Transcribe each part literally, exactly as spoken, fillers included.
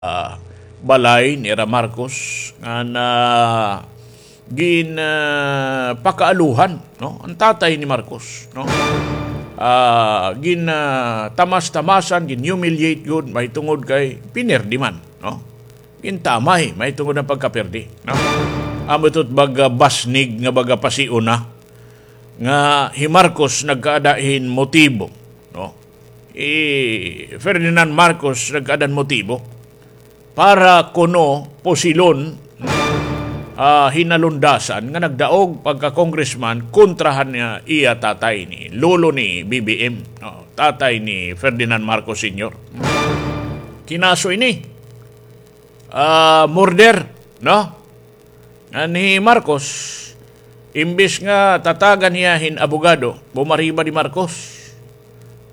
ah, balay nira Marcos nga na gin, ah, pakaaluhan, no? An tatay ni Marcos, no? Ah, gin, ah, tamas-tamasan, gin humiliate gud, mahitungod kay pinerdi man, no? Gintamay, mahitungod an pagkaperdi, no? Amo ito it baga basnig nga baga pasiuna nga hi Marcos nagkaada hin motibo, no? Hi Ferdinand Marcos nagkaada hin motibo para kuno pusilon, ah, hin nalundasan nga nagdaog pagka-congressman kontra han iya tatay ni lolo ni B B M, no? Tatay ni Ferdinand Marcos Senior. Kinaso ini, ah, murder, no? Ngan hi Marcos, imbis nga tatagan hiya hin abogado, bumaribad hi Marcos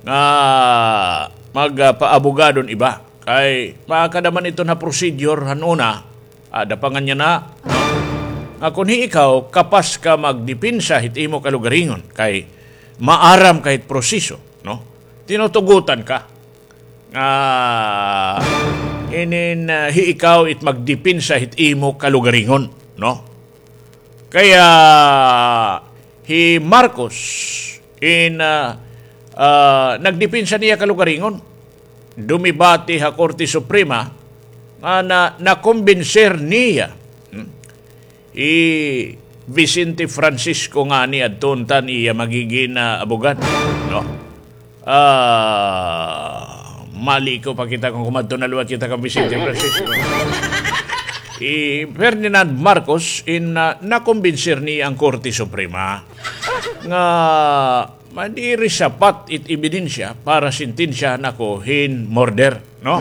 nga magpaabogado hin iba. Kay makada man iton ha procedure han una, ada pa nganhi na, no? Nga kon hi ikaw, kapas ka magdepensa hit imo kalugaringon, kay maaram ka hit proseso, no? Tinutugutan ka. Ah, inin, ah, hi ikaw it magdepensa hit imo kalugaringon, no? Kaya hi Marcos in, ah, ah, nagdepensa niya kalugaringon. Dumibati ha Korte Suprema nga na, nakumbinser niya. Hmm? Hi Vicente Francisco ngani adto unta an iya magigin, ah, abogado, no? Ah, mali ko pakita kon kumadto na liwat kita kan Vicente Francisco. Hi Ferdinand Marcos in, ah, nakumbinser niya an Korte Suprema nga madiri sapat it ebidensya para sentensyahan ako hin murder, no?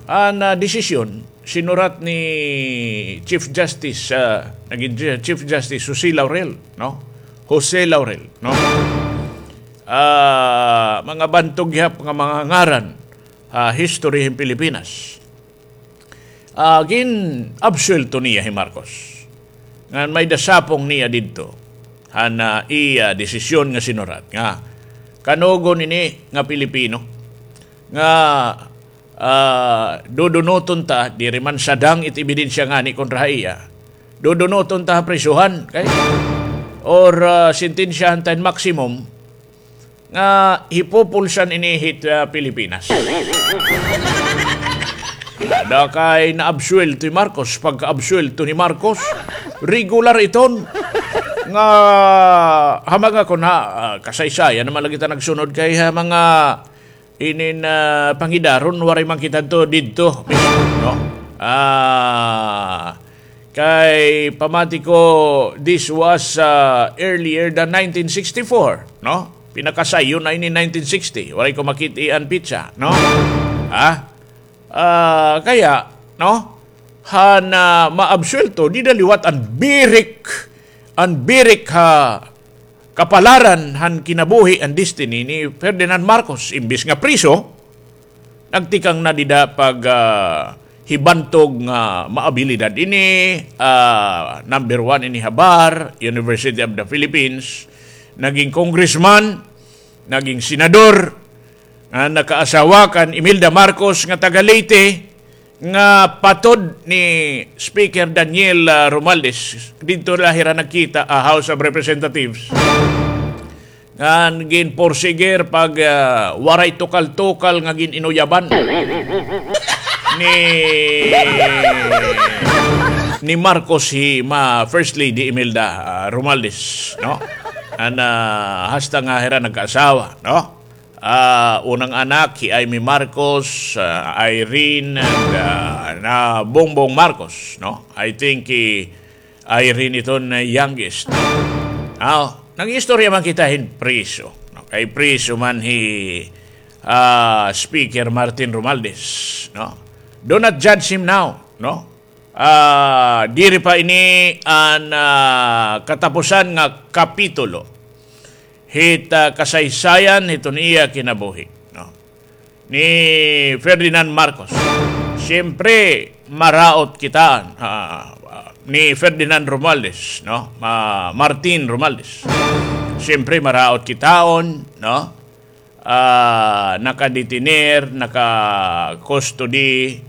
An, ah, desisyon sinurat ni Chief Justice, ah, nagin Chief Justice Jose Laurel, no? Jose Laurel, no? Ah, mga bantog gihap nga mga ngaran, ah, history hin Pilipinas. Ah, gin-absuwelto niya hi Marcos. Ngan may-ada sapong niya didto han, ah, iya desisyon nga sinurat nga kanugon ini nga Pilipino nga, ah, dudunuton ta, diri man sadang it ebidensya ngani kontra ha iya. Dudunuton ta ha prisuhan, kay, or, ah, sentensyahan ta hin maximum nga hipupulsan ini hit, ah, Pilipinas. Ada kay naabsuwelto hi Marcos, pagkaabsuwelto ni Marcos, regular iton nga ha mga kon ha, ah, kasaysayan naman lagi ta nagsunod kay ha mga inin, ah, pangidaron, waray man kita adto didto mismo, no? Ah, kay pamati ko, this was, ah, earlier than nineteen sixty-four, no? Pinakasayon na ini nineteen sixty. Waray ko makit-i an petsa, no? Ha? Ah, kaya, no? Han, ah, maabsuwelto, dida liwat an birik, an birik ha kapalaran han kinabuhi, an destiny ni Ferdinand Marcos. Imbis nga priso, nagtikang na dida pag, ah, hibantog nga maabilidad ini, ah, number one ini ha bar, University of the Philippines, naging congressman, naging senador, nga nakaasawa kan Imelda Marcos nga taga Leyte, nga patod ni Speaker Daniel, ah, Romualdez. Didto la hira nagkita, ah, House of Representatives. Ngan ginporsigir pag, ah, waray tukal-tukal nga gin-inuyaban ni, ni Marcos hi ma First Lady Imelda, ah, Romualdez, no? An, ah, hasta nga hira nagkaasawa, no? Ah, unang anak, hi Imee Marcos, ah, Irene, and, ah, na Bongbong Marcos, no? I think hi Irene iton na youngest, no? Aw, nag-istorya man kita hin priso, no? Kay priso man hi, ah, Speaker Martin Romualdez, no? Do not judge him now, no? Ah, diri pa ini an, ah, katapusan nga kapitulo hit, ah, kasaysayan hiton iya kinabuhi, no? Ni Ferdinand Marcos. Siyempre, maraot kita, ah, ni Ferdinand Romualdez, no? Ma-, Martin Romualdez. Siyempre, maraot kitaon, no? Ah, nakadetener, naka-custody,